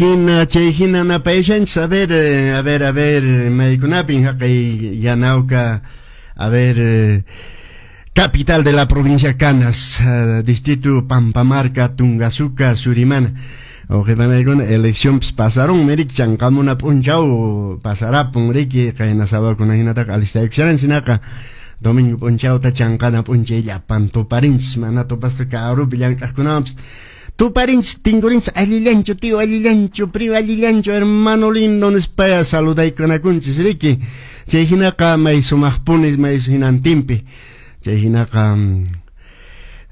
Hina chay hina napayashanchis, a ver, a ver, a ver, maykunapin haqay Yanauka, a ver, capital de la provincia Canas, distrito Pampamarca, Tungasuca, Surimana. Wawqipanaykuna eleccionpis pasaron, riki chanqamuna p'unchaw pasarapun riki qayna sabakuna hinataqa alistaykusharanchis hinaqa domingo p'unchawta chanqana p'unchay llapan tuparinchis mana tupasqa karupi llank'aqkunawanpis tuparinchis tinkurinchis allillanchu tío allillanchu primo allillanchu hermano lindo nispaya saludaykunakunchis riki chay hinaqa may sumaqpuni may hinantinpi chay hinaqa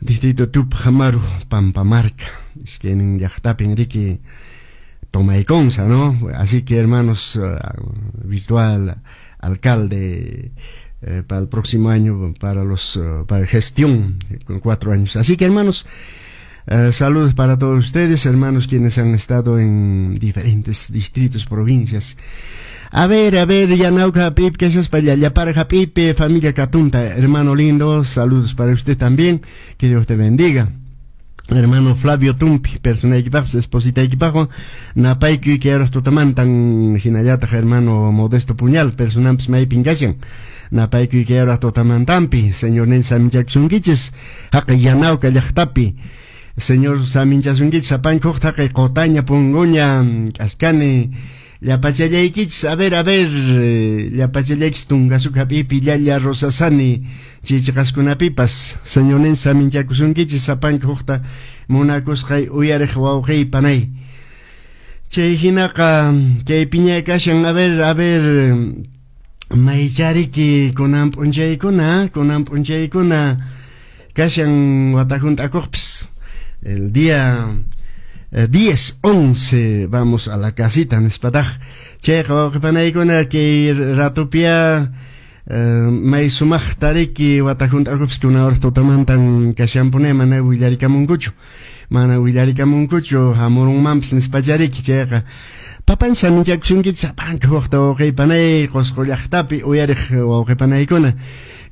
distrito Tupac Amaru Pampamarca iskaynin llaqtapin riki tomaykunsa, ¿no? Así que, hermanos, virtual alcalde para el próximo año, para gestión con 4 años. Así que, hermanos, saludos para todos ustedes, hermanos, quienes han estado en diferentes distritos, provincias. A ver, Yanauka Pip, que es para para Pipe, familia Catunta, hermano lindo, saludos para usted también, que Dios te bendiga. Hermano Flavio Tumpi, personaykipaqpas espositaykipaqwan napaykuy kay tutamantan hinallataq hermano Modesto Puñal, personanpis maypin kashan napaykuy kay tutamantanpi Señornin saminchakusunkichis haqay Yanauka llaqtapi Señor saminchasunkichis sapankuq haqay Qotaña, Punguña, K'askani llapachallaykichis, a ver, a ver, llapachallaykichis Tungasuca hap'ipi Llalla Rosasani chichiqaskunapipas Señornin saminchakusunkichis sapanka hukta munakusqay uyariq wawqiy panay chay hinaqa kay piñay kashan, a ver, a ver, maychariki kunan p'unchaykuna kunan p'unchaykuna kashan wata hunt'akuqpis el día 10, 11 vamos a la casita nispataq chayqa wawqipanaykuna kay ratupia may sumaqta riki wata hunt'akupis kuna horas tutamantan kashanpuni mana willarikamunkuchu mana willarikamunkuchu hamurunmanpis nispachariki chayqa papan saminchakusunkichis sapanka huqta wawqipanay Qusqu llaqtapi uyariq wawqipanaykuna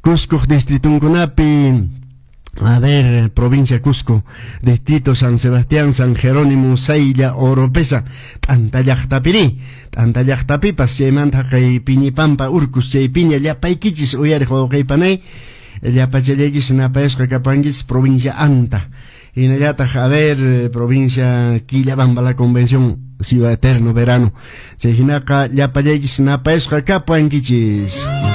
Cusco distritunkunapi. A ver, provincia Cusco, distrito San Sebastián, San Jerónimo, Saylla, Oropesa, T'antallaqtapiri, T'antallaqtapipas, chaymanta kay Piñipampa, Urcus, chay piña, llapaykichis uyariq wawqiypanay, llapachallaykichis napayasqa kapankichis provincia Anta. Hinallataq, a ver, provincia Quillabamba, la Convención, Ciudad Eterno Verano. Chay hinaqa llapallaykichis napayasqa kapankichis.